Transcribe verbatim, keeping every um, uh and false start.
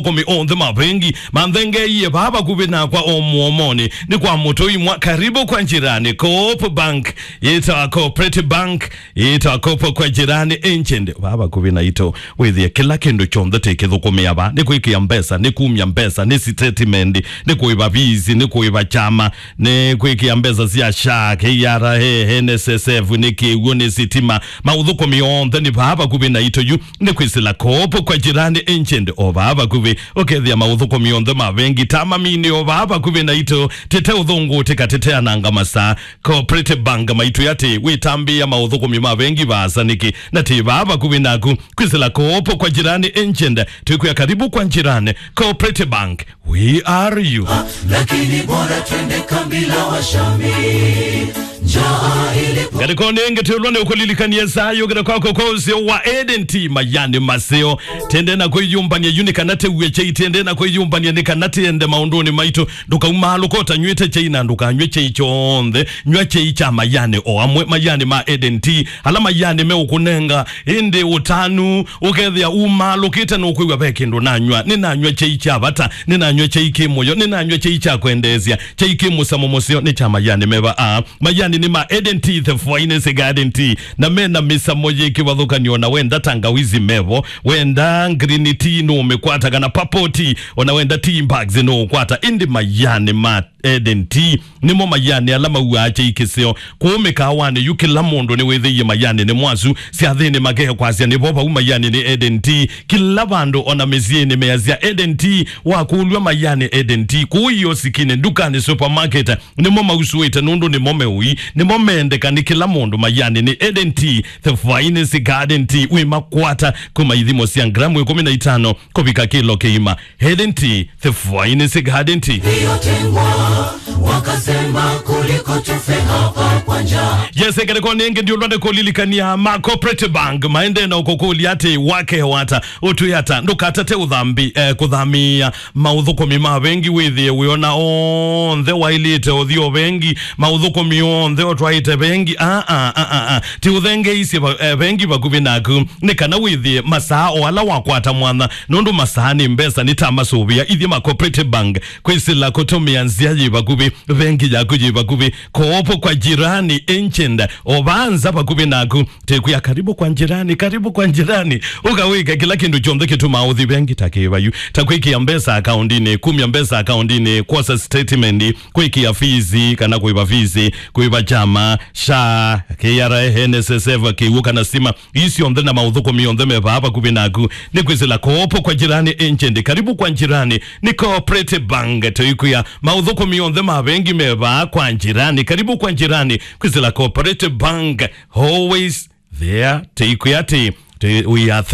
Maũthũkũmi onthe ma vengi manthengeeie vaa vakuvĩ nakwa o mũomonĩ. Nĩ kwa mũtũi mwa karibu kwa njirani. Coop Bank, yĩtawa Cooperative Bank, yĩtawa Coop kwa jirani agent. Vaa vakuvĩ naitũ, wĩthĩe kĩla kĩndũ kyonthe tĩkĩthũkũmĩa vaa. Nĩ kwĩkĩa mbesa, nĩ kumya mbesa, nĩ statement, nĩ kũĩva fees, nĩ kũĩva kyama, nĩ kwĩkĩa mbesa sya SHA, K R A, N S S F, nĩ kĩw'ũ, nĩ sitima. Maũthũkũmi onthe nĩ vaa vakuvĩ naitũ yu. Nĩ kwĩsĩla Coop kwa jirani agent o vaa vakuvĩ, ũkethĩa maũthũkũmi onthe ma vengi ta mamini o vaa vakuvĩ naitũ, tĩte ũthũngũtĩka, tĩte ananga masaa. Cooperative Bank maitwĩa atĩ wĩtambĩĩa maũthũkũmi ma vengi vaasa nĩkĩ, na tĩ vaa vakuvĩ naku. Kwĩsĩla Coop kwa jirani agent, twĩkwĩa karibu kwa jirani. Cooperative Bank, we are you. Lakini bora twende kambi la washami. Njaa ili... Ngalĩkonĩ ĩngĩ twĩlwa nĩ ũkũlilikanie saa yũkĩte kwako kwa ũseo wa agent, mayani maseo. Tende na kwĩyũmbany'a yu nĩ kana tĩw'e kyai, tende na kwĩyũmbany'a nĩ kana tĩende maũndũnĩ maitũ. Ndũkaumaalũka ũtanyw'ĩte kyai na ndũkanyw'e kyai kyonthe. Nyw'a kyai kya mayani o amwe, mayani ma agent, ala mayani meũkũnenga ĩndĩ ũtanu, ũkethĩa umaalũkĩte na ũkwĩw'a ve kĩndũ nanywa. Nĩnanyw'a kyai kya vata, nĩnanyw'a kyai kĩ mũyo, nĩnanyw'a kyai kya kwendeesya, kyai kĩ mũsamo mũseo, nĩ kya mayani meva. Aa, mayani nĩ ma agent, the finest garden tea, na mena mĩsamo yĩ kĩvathũkany'o. Na wenda tangawizi mevo, wenda green tea nũũmĩkwata, kana purple tea, ona wenda tea bags nũũkwata, ĩndĩ mayani ma agent nĩmo mayani ala mauaa kyai kĩseo. Kũu mĩkaawanĩ yu kĩla mũndũ nĩwĩthĩie mayani nĩ mwasu, syathĩnĩ makekwasya nĩvo vau mayani nĩ agent. Kĩla vandũ ona mĩsyĩnĩ measya agent, wakũlw'a mayani agent. Kũu iosikinĩ, ndukanĩ, supermarket, nĩmo mausũĩte nũndũ nĩmo meũi, nĩmo mendeka nĩ kĩla mũndũ. Mayani nĩ agent, the finest garden tea. Wĩmakwata kuma ithimo sya ngramu ĩkũmi na itano kũvika kĩlo kĩima. Agent, the finest garden tea. Iliyotengwa, wakasema kuliko tufe hapa kwa njaa. Yes, ngalĩkonĩ ĩngĩ ndiũlwa nĩ kũlilikania ma Cooperative Bank maendee na ũkũkũlya atĩ, wakeo ata, ũtwĩe ata, ndũkatate ũthambi, eh, kũthamĩĩa maũthũkũmi ma vengi, wĩthĩe wĩona onthe waĩlĩte ũthi o vengi, maũthũkũmi onthe ũtwaĩte vengi. Aa, aa, aa, aa. Ti ũthengeisye va-, eh, vengi vakuvĩ naku, nĩ kana wĩthĩe masaa o ala wakwata mwanya, nũndũ masaa nĩ mbesa, nĩ ta masũvĩa. Ithyĩ ma Cooperative Bank, kwĩsĩla kũtũmĩa nzĩa yĩ vakuvĩ, vengi yaku yĩ vakuvĩ, Coop kwa jirani agent, o vaa nza vakuvĩ naku. Tĩkwĩa karibu kwa jirani, karibu kwa jirani. Ũkawĩka kĩla kĩndũ kyonthe kĩtumaa ũthi vengi, ta kĩvayu, ta kwĩkĩa mbesa akaundinĩ, kumya mbesa akaundinĩ, kwosa statement, kwĩkĩa fees kana kũĩva fees, kũĩva kyama, SHA, K R A, N S S F, kĩw'ũ kana stima. Ii syonthe na maũthũkũmi onthe me vaa vakuvĩ naku. Nĩ kwĩsĩla Coop kwa jirani agent. Karibu kwa jirani. Nĩ Cooperative Bank. Tũikwĩa maũthũkũmi onthe ma vengi me vaa kwa jirani. Karibu kwa jirani. Kwĩsĩla Cooperative Bank. Always there. Tũikwĩa atĩ, tũ-, we are